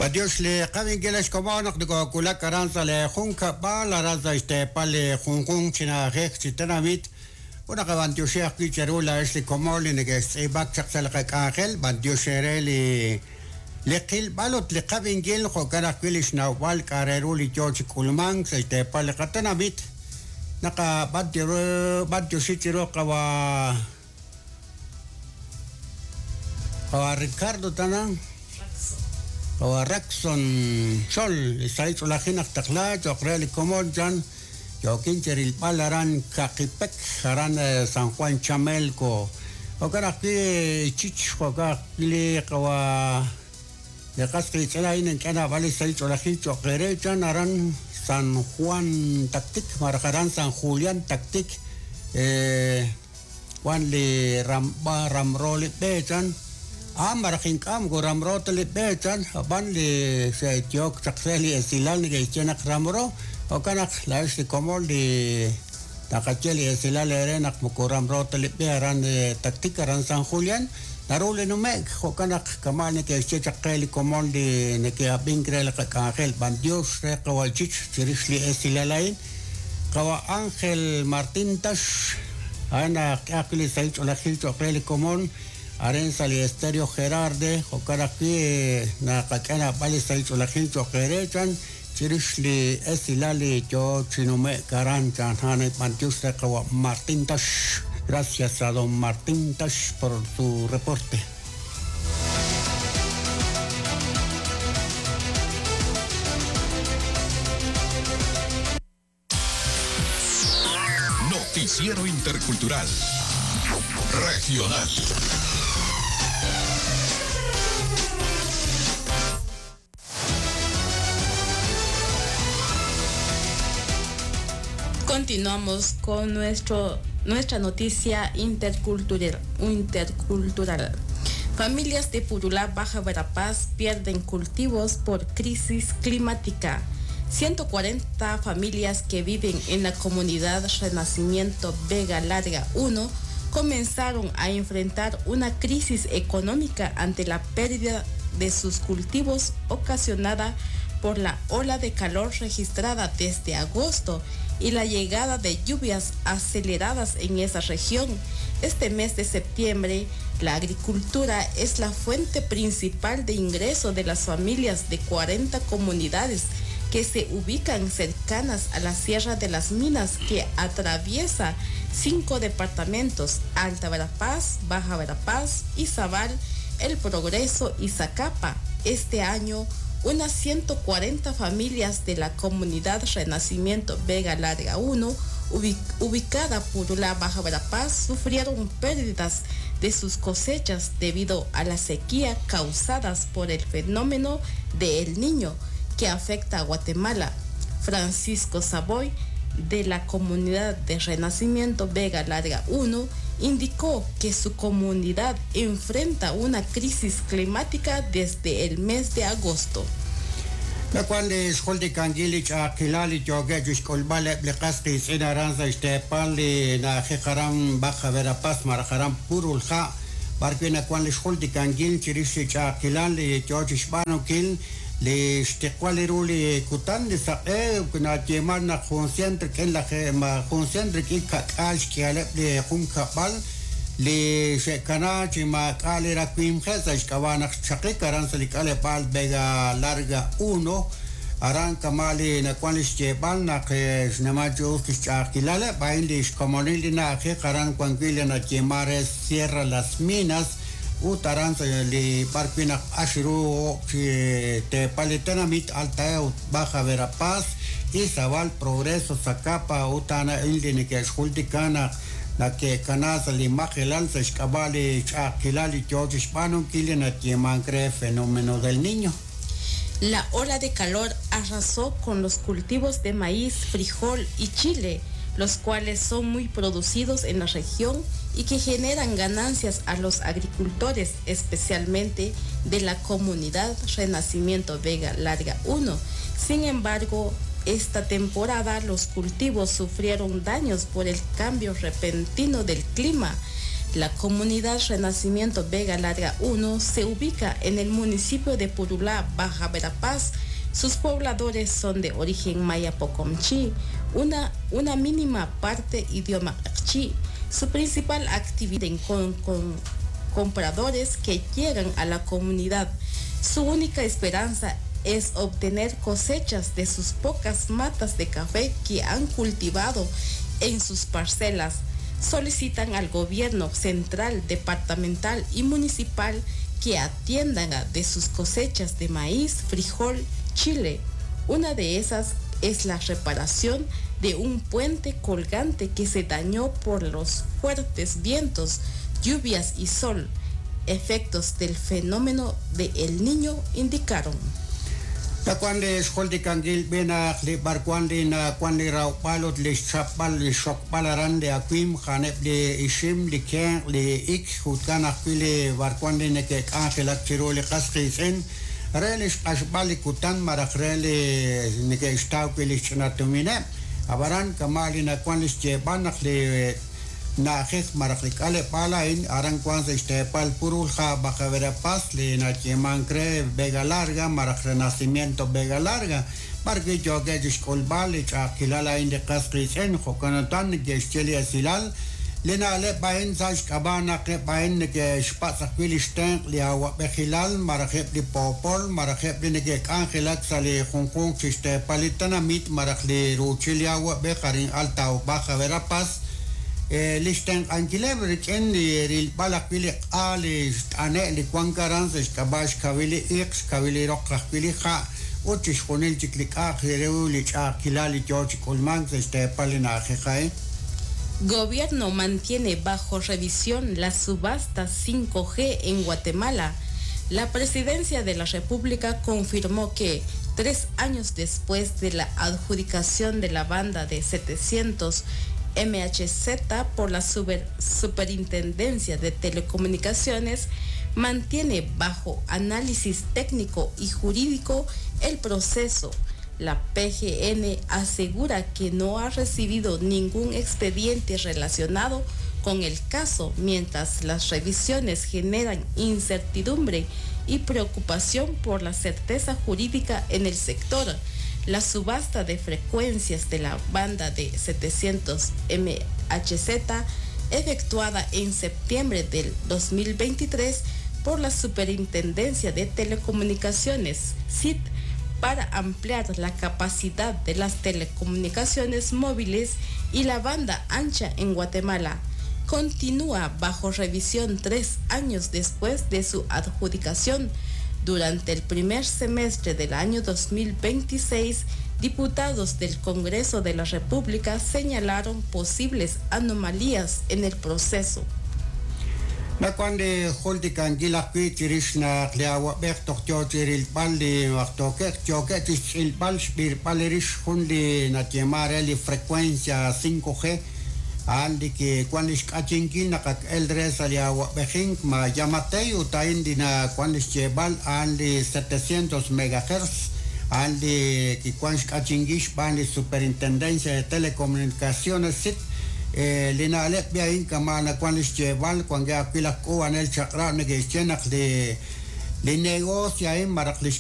B'antiox li qab'inkil ex komon naq nokowulak aran sa' li junkab'al aran sa' xteepal li junjunq chi na'ajej chi tenamit ut naqab'antioxi ajwi' cheru laa'ex li komon li neke'xtz'iib'ak chaq sa' li qak'anjel b'antiox eere li li qilb'al ut li qab'inkil jo'kan ajwi' li xnawb'al k'a' re ru li yoo chi k'ulmank sa' xteepal li qatenamit naqab'antioxi chiru qawa' qawa' Ricardo tana qawa' Raxon Xol li sahil ch'oolejil naq taqla cho'q re li komon chan yookin chi rilb'al aran Kaqipek aran San Juan Chamelco jo'kan ajwi' Chich jo'kan ajwi' li qawa' li qas qiitz'in a'in ink'a' naab'al li sahil ch'oolejil cho'q eere chan aran San Juan Tactic malaj aran San Julián Tactic wan li ramb'a ramro li b'e chan a malaj ink'a' moko ramro ta li b'e chan ab'an li xe'yook chaq re li esilal neke'xye naq ramro jo'kan naq laa'ex li komon li naqaye li esilal eere naq moko ramro ta li b'e aran Tactic aran San Julián naru li nume'k jo'kan naq kama' neke'xye chaq qe li komon li neke'ab'ink re li qak'anjel b'antiox re qawa' Chich chirix li esilal a'in qawa' Ángel Martín Tax a'an ajk'e ajwi' li sahil ch'oolejil cho'q re li komon arin sa' li Estéreo Gerarde jo'kan ajwi' naqak'e naab'al li sahil ch'oolejil cho'q eere chan chirix li esilal li yoo chi nume'k aran chan a'an b'antiox re qawa' Martín Tax gracias a don Martín Tax por su reporte. Noticiero Intercultural Regional. Continuamos con nuestro, nuestra noticia intercultural, intercultural. Familias de Purulá, Baja Verapaz pierden cultivos por crisis climática. 140 familias que viven en la comunidad Renacimiento Vega Larga 1 comenzaron a enfrentar una crisis económica ante la pérdida de sus cultivos ocasionada por la ola de calor registrada desde agosto y la llegada de lluvias aceleradas en esa región. Este mes de septiembre, la agricultura es la fuente principal de ingreso de las familias de 40 comunidades que se ubican cercanas a la Sierra de las Minas que atraviesa cinco departamentos, Alta Verapaz, Baja Verapaz, Izabal, El Progreso y Zacapa. Este año, unas 140 familias de la comunidad Renacimiento Vega Larga 1, ubicada por la Baja Verapaz, sufrieron pérdidas de sus cosechas debido a la sequía causadas por el fenómeno de El Niño que afecta a Guatemala. Francisco Savoy, de la comunidad de Renacimiento Vega Larga 1, indicó que su comunidad enfrenta una crisis climática desde el mes de agosto. Nawan li xjultikankil li ch'a'ajkilal li yookeb' chi xk'ulb'al eb' li qas qiitz'in aran sa' xteepal li na'ajej aran Baja Verapaz malaj aran Purulha' b'arwi' nawan li xjultikankil chirix li ch'a'ajkilal li yoo chi xb'aanunkil li xtiqwal ru li kutan li saq'e nayeeman naq jun cien rik'in laj jun cien rik'in ka'k'aal xk'ihaleb' li junkab'al li xe'kana chi maak'a' li rawimqeb' sa' xk'ab'a' naq xchaqik aran sa' li k'aleb'aal Vega Larga 1 aran kama' li nawan li xyeeb'al naq xnimal chi us li xch'a'ajkilaleb' a'in li xkomonil li na'ajej aran wan wi' li nayeeman re Sierra Las Minas ut aran sa' li b'arwi' naq q'ax ru chi teepal li tenamit Alta ut Baja Verapaz, Izabal, Progreso, Zacapa ut a'an a'in li neke'xjultika naq nake'kana sa' li majelal sa' xk'ab'a' li ch'a'ajkilal li yoo chi xb'aanunkil li nayeemank re fenómeno del Niño. La ola de calor arrasó con los cultivos de maíz, frijol y chile, los cuales son muy producidos en la región y que generan ganancias a los agricultores, especialmente de la comunidad Renacimiento Vega Larga 1. Sin embargo, esta temporada los cultivos sufrieron daños por el cambio repentino del clima. La comunidad Renacimiento Vega Larga 1 se ubica en el municipio de Purulá, Baja Verapaz. Sus pobladores son de origen maya pokomchi, una mínima parte idioma q'eqchi'. Su principal actividad con compradores que llegan a la comunidad. Su única esperanza es obtener cosechas de sus pocas matas de café que han cultivado en sus parcelas. Solicitan al gobierno central, departamental y municipal que atiendan de sus cosechas de maíz, frijol, chile. Una de esas es la reparación de un puente colgante que se dañó por los fuertes vientos, lluvias y sol. Efectos del fenómeno de El Niño indicaron. Nawank li xjultikankil b'i naq li b'arwan li nawank li rawb'al ut li xchapb'al li xxokb'al aran li awimq a'aneb' li ixim, li kenq', li ik, jo'kan ajwi' li b'arwan li neke'k'anjelak chiru li qas qiitz'in re li xq'axb'al li kutan malaj re li neke'xtaw wi' li xch'ina tumineb'. Ab'anan kama' li nawank li xyeeb'al naq li na'ajej malaj li k'aleb'aal a'in aran wank sa' xteepal Purulhá, Baja Verapaz, li nayeemank re Vega Larga malaj Renacimiento Vega Larga, b'arwi' yookeb' chi xk'ulb'al li ch'a'ajkilal a'in li qas qiitz'in. Jo'kan utan neke'xye li esilal li na'leb' a'in sa' xk'ab'a' naq eb' a'in neke'xpatz' ajwi' li xtenq' li awa'b'ejilal malaj eb' li poopol malaj eb' li neke'k'anjelak sa' li junjunq chi xteepal li tenamit malaj li ruuchil li awa'b'ej arin Alta o Baja Verapaz, li xtenq'ankileb' rik'in li rilb'al ajwi' li q'a li xt'ane' li wank aran sa' xk'ab'a' xkawil li iq', xkawil li roq ajwi' li ha' ut chixjunil chik li k'a'aq re ru li ch'a'ajkilal li yo chi k'ulmank sa' xteepal li na'ajej a'in. Gobierno mantiene bajo revisión la subasta 5G en Guatemala. La Presidencia de la República confirmó que 3 años después de la adjudicación de la banda de 700 MHz por la Superintendencia de Telecomunicaciones, mantiene bajo análisis técnico y jurídico el proceso. La PGN asegura que no ha recibido ningún expediente relacionado con el caso, mientras las revisiones generan incertidumbre y preocupación por la certeza jurídica en el sector. La subasta de frecuencias de la banda de 700 MHz, efectuada en septiembre del 2023 por la Superintendencia de Telecomunicaciones, SIT, para ampliar la capacidad de las telecomunicaciones móviles y la banda ancha en Guatemala, continúa bajo revisión 3 años después de su adjudicación. Durante el primer semestre del año 2026, diputados del Congreso de la República señalaron posibles anomalías en el proceso. Nawank li jultikankil ajwi' chirix naq li awa'b'ej toj yo chi rilb'al li waqtookej yookeb' chi xtz'ilb'al xb'irb'al rix jun li nayeeman re li frecuencia 5G a'an li kiwan li xk'achinkil naq ak el re sa' li awa'b'ejink ma Giammattei ut a'in li nawank li xyeeb'al a'an li 700 megahertz a'an li kiwan xk'achinkil xb'aan li Superintendencia de Telecomunicaciones, SIT. Li na'leb' b'i a'in kama' nawank li xyeeb'al wankeb' ajwi' laj k'uub'anel chaq'rab' neke'xye naq li negocio a'in malaj li.